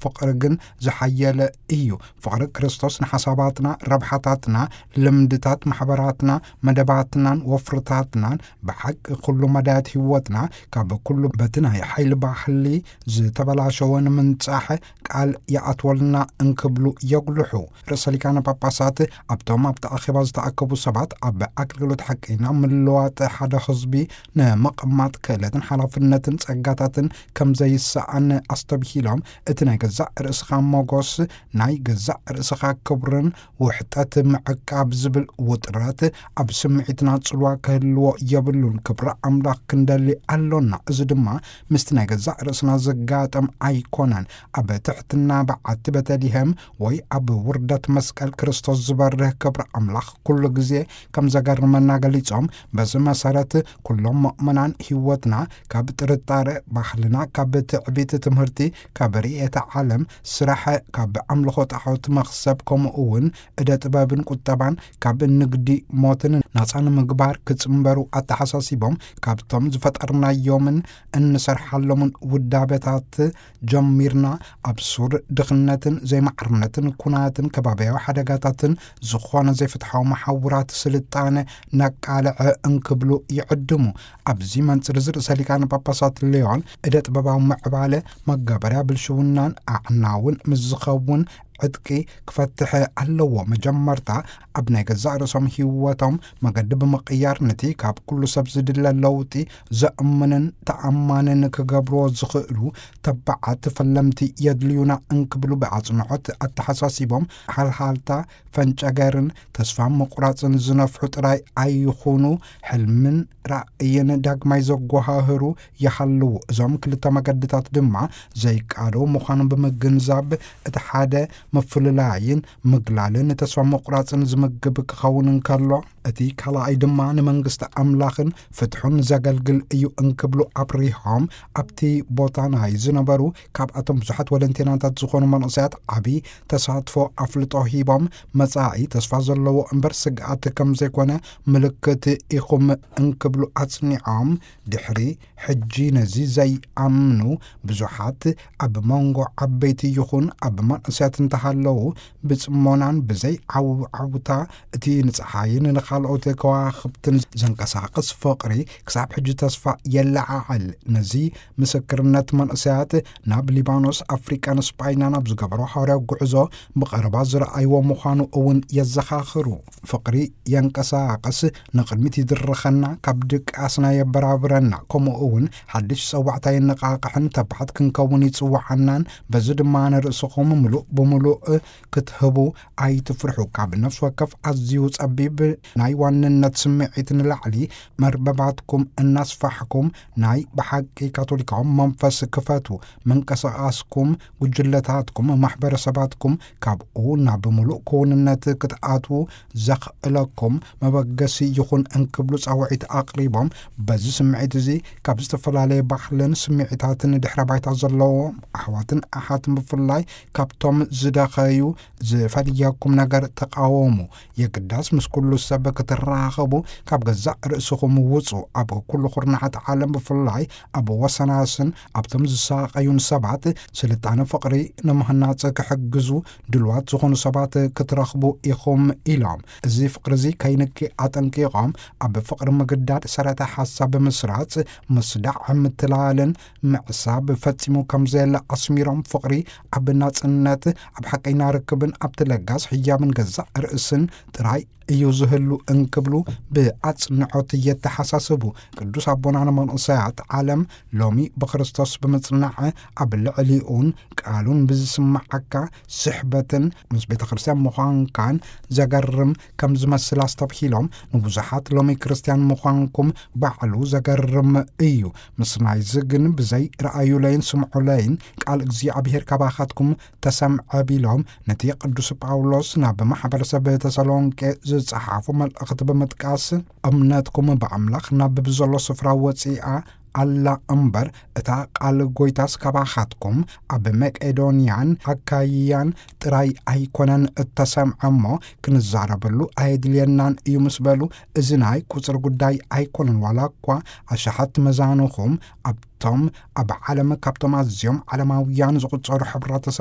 ፍቕሪ ግን ዝሓየለ እዩ። ፍቕሪ ክርስቶስ ንሓሳባትና፣ ረብሓታትና፣ ልምድታት ማሕበራትና፣ መደባትናን ወፍርታትናን ብሓቂ ኩሉ መዳያት ህይወትና ካብ ኩሉ በቲ ናይ ሓይሊ ባህሊ ዝተበላሸወ ንምንጻሕ ቃል ይኣትወልና እንክብሉ የጉልሑ። ርእሰ ሊቃነ ጳጳሳት ኣብቶም ኣብቲ ኣኼባ ዝተኣከቡ ሰባት ኣብ ኣገልግሎት ሓቀይና ምልዋጥ ሓደ ህዝቢ ንምቕማጥ ክእለትን ሓላፍነትን ጸጋታትን ከም ዘይሰኣን ኣስተብሂሎም፣ እቲ ናይ ገዛእ ርእስኻ ሞጎስ፣ ናይ ገዛእ ርእስኻ ክብርን ውሕጠት ምዕቃብ ዝብል ውጥረት ኣብ ስምዒትና ጽልዋ ክህልዎ የብሉን። ክብሪ ኣምላኽ ክንደሊ ኣሎና። እዚ ድማ ምስቲ ናይ ገዛእ ርእስና ዘጋጠም ኣይኮነን። ኣብ ትሕትና በዓቲ ቤተልሔም ወይ ኣብ ውርደት መስቀል ክርስቶስ ዝበርህ ክብሪ ኣምላኽ ኩሉ ግዜ ከም ዘገርመና ገሊጾም፣ በዚ መሰረት ኩሎም ምእመናን ህይወትና ካብ ጥርጣረ፣ ባህልና ካብ ትዕቢት፣ ትምህርቲ ካብ ርእየተ ዓለም፣ ስራሕ ካብ ኣምልኾ ጣዖት መኽሰብ፣ ከምኡ እውን እደ ጥበብን ቁጠባን ካብ ንግዲ ሞትን ናጻ ንምግባር ክጽንበሩ ኣተሓሳሲቦም፣ ካብቶም ዝፈጠርናዮምን እንሰርሓሎምን ውዳበታት ጀሚርና ኣብ ሱር ድኽነትን ዘይማዕርነትን ኩናትን ከባብያዊ ሓደጋታትን ዝኾነ ዘይፍትሓዊ መሓውራት ስልጣነ ነቃልዐ እንክብሉ ይዕድሙ። ኣብዚ መንጽር እዚ ርእሰ ሊቃነ ጳጳሳት ሊዮን እደ ጥበባዊ ምዕባለ መጋበርያ ብልሽውናን ኣዕናውን ምስ ዝኸውን ዕጥቂ ክፈትሕ ኣለዎ። መጀመርታ ኣብ ናይ ገዛእ ርእሶም ህይወቶም መገዲ ብምቕያር፣ ነቲ ካብ ኩሉ ሰብ ዝድለ ለውጢ ዘእምንን ተኣማንን ክገብርዎ ዝኽእሉ ተባዓት ፈለምቲ የድልዩና እንክብሉ ብኣጽንዖት ኣተሓሳሲቦም፣ ሓልሃልታ ፈንጨገርን ተስፋ ምቑራጽን ዝነፍሑ ጥራይ ኣይኹኑ፣ ሕልምን ራእይን ዳግማይ ዘጓሃህሩ ይሃልዉ። እዞም ክልተ መገድታት ድማ ዘይቃደው ምዃኖም ብምግንዛብ፣ እቲ ሓደ ምፍልላይን ምግላልን ተስፋ ምቑራጽን ዝምግብ ክኸውን እንከሎ፣ እቲ ካልኣይ ድማ ንመንግስቲ ኣምላኽን ፍትሑን ዘገልግል እዩ እንክብሉ ኣብሪሆም፣ ኣብቲ ቦታ ናይ ዝነበሩ ካብኣቶም ብዙሓት ወለንቴናታት ዝኾኑ መንእሰያት ዓቢ ተሳትፎ ኣፍልጦ ሂቦም፣ መጻኢ ተስፋ ዘለዎ እምበር ስግኣት ከም ዘይኮነ ምልክት ኢኹም እንክብሉ ኣጽኒዖም፣ ድሕሪ ሕጂ ነዚ ዘይኣምኑ ብዙሓት ኣብ መንጎ ዓበይቲ ይኹን ኣብ መንእሰያት እንተሃለዉ፣ ብጽሞናን ብዘይ ዓውዓውታ እቲ ንጸሓይን ንኻልኦት ከዋኽብትን ዘንቀሳቕስ ፍቕሪ ክሳብ ሕጂ ተስፋ የለዓዕል። ነዚ ምስክርነት መንእሰያት ናብ ሊባኖስ፣ ኣፍሪቃን ስጳይናን ኣብ ዝገበሮ ሃዋርያዊ ጉዕዞ ብቐረባ ዝረኣይዎ ምዃኑ እውን የዘኻኽሩ። ፍቕሪ የንቀሳቕስ፣ ንቕድሚት ይድርኸና፣ ካብ ድቃስና የበራብረና፣ ከምኡ እውን ሓድሽ ጸዋዕታ የነቓቕሕን ተባዓት ክንከውን ይጽውዓናን፣ በዚ ድማ ንርእስኹም ምሉእ ብምሉእ ክትህቡ ኣይትፍርሑ። ካብ ነፍሲ ወከፍ ኣዝዩ ጸቢብ ናይ ዋንነት ስምዒት ንላዕሊ፣ መርበባትኩም እናስፋሕኩም ናይ ብሓቂ ካቶሊካዊ መንፈስ ክፈቱ። ምንቅስቓስኩም፣ ጉጅለታትኩም፣ ማሕበረሰባትኩም ካብኡ ናብ ምሉእ ክውንነት ክትኣትዉ ዘኽእለኩም መበገሲ ይኹን እንክብሉ ጻውዒት ኣቕሪቦም፣ በዚ ስምዒት እዚ ካብ ዝተፈላለየ ባህልን ስምዒታትን ድሕረ ባይታ ዘለዎም ኣሕዋትን ኣሓትን ብፍላይ ካብቶም ዝደኸዩ ዝፈልየኩም ነገር ተቓወሙ። የግዳስ ምስ ኩሉ ሰብ ክትራኸቡ ካብ ገዛእ ርእስኹም ውጹ። ኣብ ኩሉ ኩርናዓት ዓለም ብፍላይ ኣብ ወሰናስን ኣብቶም ዝሳቐዩን ሰባት ስልጣነ ፍቕሪ ንምህናጽ ክሕግዙ ድልዋት ዝኾኑ ሰባት ክትረኽቡ ኢኹም ኢሎም። እዚ ፍቕሪ እዚ ከይንኪ ኣጠንቂቖም፣ ኣብ ፍቕሪ ምግዳድ ሰረተ ሓሳብ ብምስራጽ፣ ምስዳዕ፣ ምትላልን ምዕሳብ ፈጺሙ ከም ዘየለ ኣስሚሮም፣ ፍቕሪ ኣብ ናጽነት፣ ኣብ ሓቀይና ርክብን ኣብቲ ለጋስ ህያብን ገዛእ ርእስን ጥራይ እዩ ዝህሉ እንክብሉ ብኣጽንዖት የተሓሳስቡ። ቅዱስ ኣቦና ንመንእሰያት ዓለም ሎሚ ብክርስቶስ ብምጽናዕ ኣብ ልዕሊኡን ቃሉን ብዝስምዓካ ስሕበትን ምስ ቤተ ክርስቲያን ምዃንካን ዘገርም ከም ዝመስል ኣስተብሂሎም፣ ንብዙሓት ሎሚ ክርስቲያን ምዃንኩም ባዕሉ ዘገርም እዩ። ምስ ናይዚ ግን ብዘይ ረኣዩለይን ስምዑለይን ቃል እግዚኣብሔር ካባኻትኩም ተሰምዐ ቢሎም፣ ነቲ ቅዱስ ጳውሎስ ናብ ማሕበረሰብ ተሰሎንቄ ዝጸሓፎ መልእኽቲ ብምጥቃስ፣ እምነትኩም ብኣምላኽ ናብ ብዘሎ ስፍራ ወጺኣ ኣላ እምበር፣ እታ ቃል ጐይታስ ካባኻትኩም ኣብ መቄዶንያን ኣካይያን ጥራይ ኣይኮነን እተሰምዐ እሞ፣ ክንዛረበሉ ኣየድልየናን እዩ ምስ በሉ፣ እዚ ናይ ቁጽሪ ጉዳይ ኣይኮነን። ዋላ እኳ ኣሽሓት መዛኑኹም ኣብቶም ኣብ ዓለም ካብቶም ኣዝዮም ዓለማውያን ዝቑጸሩ ሕብረተሰብ